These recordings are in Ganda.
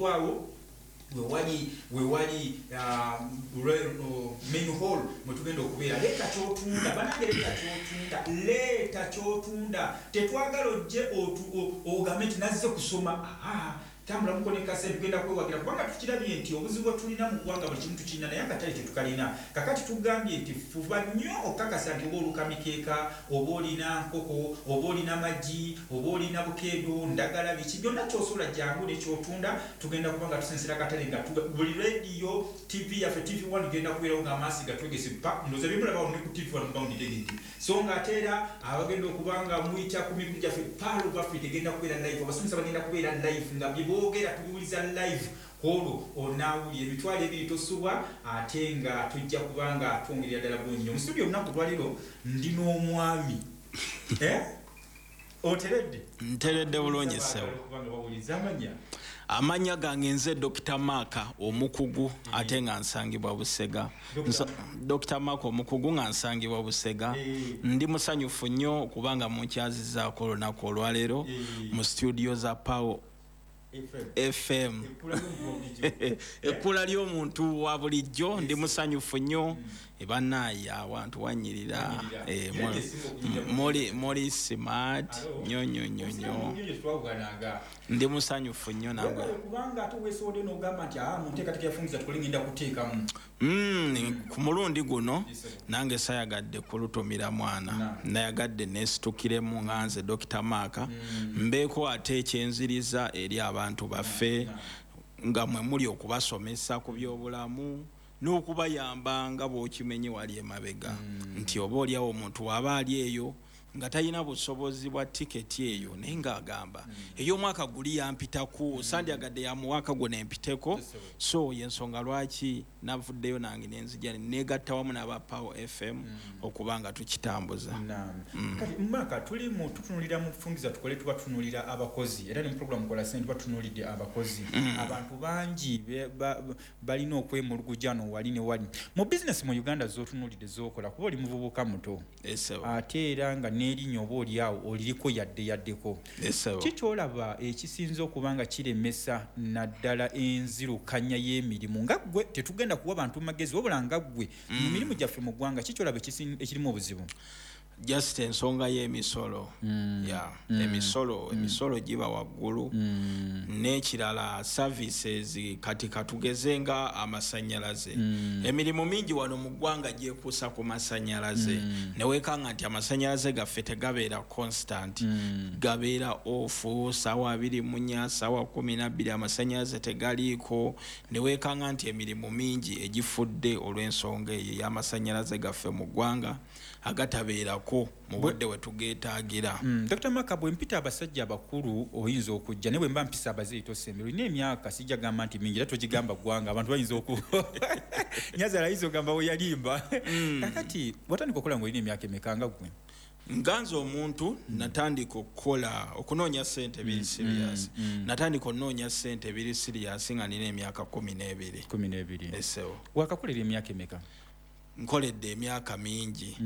Awo wewali main hall mwetugenda okubeera. Leeta kyotunda, banange, leeta kyotunda, leeta kyotunda. Tetwagala ojje ogambe nti nazze kusoma. Tambula mukoneka sente, tugenda kwewagira, kubanga tukirabye nti obuzibu bwe tulina mu ggwanga, buli kimu tukirina naye akatale tetukalina. Kakati tugambye nti fuba nnyo okukakasa nti oba oluka mikeeka, oba olina nkoko, oba olina magi, oba olina bukeedo, ndagala, biki byonna kyosobola, jangu nekyotunda. Tugenda kuba nga tusensera akatale nga buli radio, TV yaffe, TV1 genda kubeerawo ng'amaasi gatwegese pa ndowooza byemulaba ne ku TV1 mubawunditegedde. So nga ate era abagenda okuba nga muyita ku mikutu gyaffe, Pearl of Africa egenda kubeera live, abasomesa bagenda kubeera live nga byeboogera tubiwuliza live. Kwolwo onaawulira 20,000 tosubwa, ate nga tujja kuba nga twongerera ddala bulungi nnyo. Mu studio olunaku lwaleero ndi n'omwami. Eh? Oteredde? Nteredde bulungi, ssebo. Kubanga bawuliza amanya. Amannya gange nze Dr Mark Omukugu, ate nga nsangibwa Busega. Dr Mark Omukugu, nga nsangibwa Busega. Ndi musanyufu nnyo kubanga munkyazizaako olunaku olwaleero mu studio za Power FM. FM. Ekkula ly'omuntu wa bulijjo. Ekkula ly'omuntu wa bulijjo. Ndi musanyufu nnyo. Ebannaaye, awantu wanyirira. Wanyirira. Eh, Era gyesinga okunyirira mu muli smart Alo. nnyo nnyo nnyo nnyo. Nnyo twawugananga. Ndi musanyufu nnyo nagwe. Webale, kubanga ate weesowodde n'ogamba nti mu nteekateeka yafungiza tukole, ngenda kuteekamu. Ku mulundi guno Yes, sir. nange sayagadde kulutumira mwana. Nayagadde nesitukiremu nga nze Dr Mark, mbeeko ate ekyenziriza eri abantu baffe nga mwe muli okubasomesa ku byobulamu n'okubayamba, nga bw'okimenye wali emabega nti oba oliawo omuntu waba ali eyo nga talina busobozi bwa tiketi eyo, naye ng'agamba ey'omwaka guli yampitaku, sandyagadde yamuwaka guno empiteko. Yes, sir. So yensonga lwaki navuddeyo nange nenzija negatta wamu n'aba Power FM okuba nga tukitambuza. Naam. Kati Maka, tuli mu tutunulira mu kufungiza tukole, tuba tutunulira abakozi, era ne mu program Kola Sente tuba tutunulidde abakozi. Abantu bangi balina okwemuluguja no wali ne wali mu bizinesi mu Uganda z'otunulidde z'okola, kuba oli muvubuka muto, Esebo. ate era nga n'erinnya oba oli awo oliriko yadde yaddeko. Esebo. Ki kyolaba ekisinza okuba nga kiremesa naddala enzirukanya y'emirimu, nga ggwe, tetugenda kuwa bantu magezi, wabula nga ggwe, mu mirimu gyaffe mu ggwanga, ki kyolaba ekirimu obuzibu? Just ensonga y'emisolo ya emisolo giba waggulu. N'ekirala, services. Kati katugeze nga amasanyalaze. Emirimu mingi wano mu ggwanga gyekuusa ku masanyalaze, neweekanga nti amasanyalaze gaffe tegabeera constant, gabeera off saawa 24, saawa 12 amasanyalaze tegaliiko. Neweekanga nti emirimu mingi egifudde olw'ensonga eyo ey'amasanyalaze gaffe mu ggwanga agatabeerako mu budde we tugeetaagira. Dr Maka, bwe mpita abasajja abakulu oyinza okujja, naye bwe mba mpisa abazeeyi tosembera. Olina emyaka, sijja gamba nti mingi, era togigamba ggwanga, abantu bayinza oku nyazaala ayinza ogamba we yalimba. Kakati watandika okukola ng'olina emyaka emeka nga ggwe? Nga nze omuntu, natandika okukola, okunoonya sente biri serious, natandika okunoonya sente biri serious nga nina emyaka 12. 12? Esewo. Wakakolera emyaka emeka? Nkoledde emyaka mingi,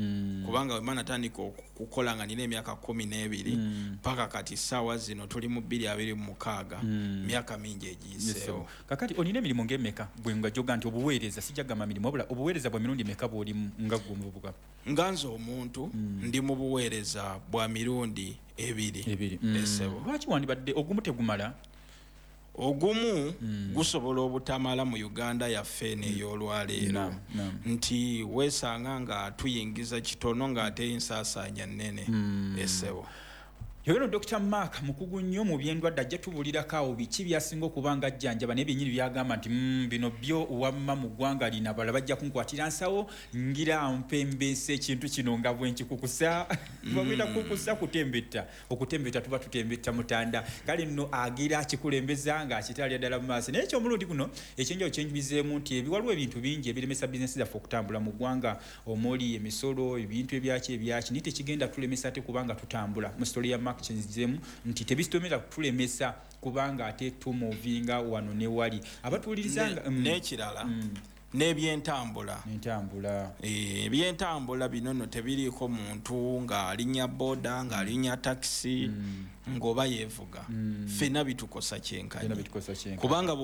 kubanga wema natandika okukola nga nina emyaka 12 paka kati saawa zino tuli mu 2026, myaka mingi egiyiseewo. Kakati olina emirimu ng'emeka gwe nga joga nti obuweereza, sijja gamba mirimu, wabula obuweereza bwa mirundi emeka bw'olimu nga ggwe omuvubuka? Nga nze omuntu, ndi mu buweereza bwa mirundi ebiri. Ebiri. Esebo. Lwaki wandibadde ogumu tegumala? Ogumu gusobola obutamala mu Uganda yaffe eno ey'olwaleero, Naam, naam. nti weesanga nga tuyingiza kitono ng'ate ensaasaanya nnene, esebo. Yono Dr Mark, mukugu nnyo mu byendwadde, ajja tubuulirako awo biki byasinga okuba nga ajjanjaba, naye byennyini byagamba nti bino byo wamma mu ggwanga lino abalala bajja kunkwatira nsawo, ngira mpembesa ekintu kino nga bwe nkikukusa. Bagenda kukusa kutembetta, okutembetta tuba tutembetta mutanda. Kale nno agira akikulembeza ng'akitalya ddala mu maaso. Naye ekyomulundi guno ekyenjawulo kyenjubizeemu nti waliwo ebintu bingi ebiremesa bizinesi zaffe okutambula mu ggwanga, omuli emisolo, ebintu ebyaki ebyaki, naye tekigenda tulemesa ate kubanga tutambula. Mu story ya Mark kyenzizeemu nti tebitomera kutulemesa kubanga ate tumuvinga wano ne wali abatuwuliriza nga N'ekirala, N'ebyentambula. Entambula. Ebyentambula bino nno tebiriiko muntu ng'alinnya boda, ng'alinnya takisi, ng'oba yeevuga, ffenna bitukosa Byonna kyenkanyi. bitukosa kyenkanyi. Kubanga